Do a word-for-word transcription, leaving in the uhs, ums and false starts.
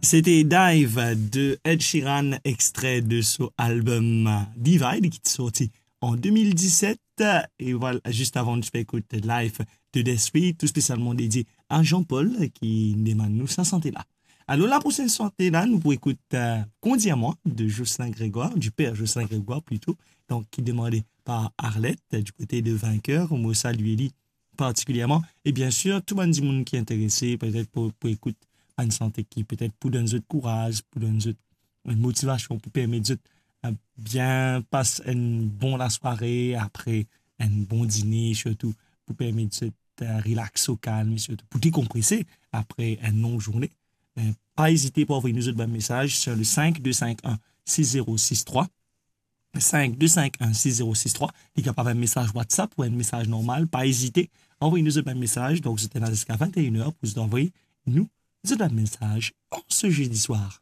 C'était Dive de Ed Sheeran, extrait de son album Divide, ki ti sorti an de mil diset. E vwala, zis avan, nou ti pe ekout Life de Despi, tou spesialman dedie a Jean-Paul, ki demann nou sa sante la. Alor, la prosenn sante la, nou pou ekout, euh, Kondi a mwa, de Jocelyn Grégoire, du père Jocelyn Grégoire plito, donk, ki demande par Arlette, du kote de Vainqueur. Mo salie li partikilierman. E bien sir, tou bann dimoun ki interese, petet pou, pou ekout enn sante ki petet pou donn zot kouraz, pou donn zot enn motivasion, pou permet zot, euh, bien pas enn bon lasware, apre enn bon dine, sirtou pou permet zot, euh, relax o kalm, sirtou pou dekonprese apre enn long zourne. Euh, pa ezite pou anvoy nou zot bann mesaz sur le cinq deux cinq un six zéro six trois. Cinq deux cinq un six zéro six trois. Li kapav enn mesaz WhatsApp ou enn mesaz normal, pa ezite, anvoy nou zot bann mesaz. Donk, zot ena ziska vingt et une heures pou zot anvoy nou zot bann mesaz an se zedi swar.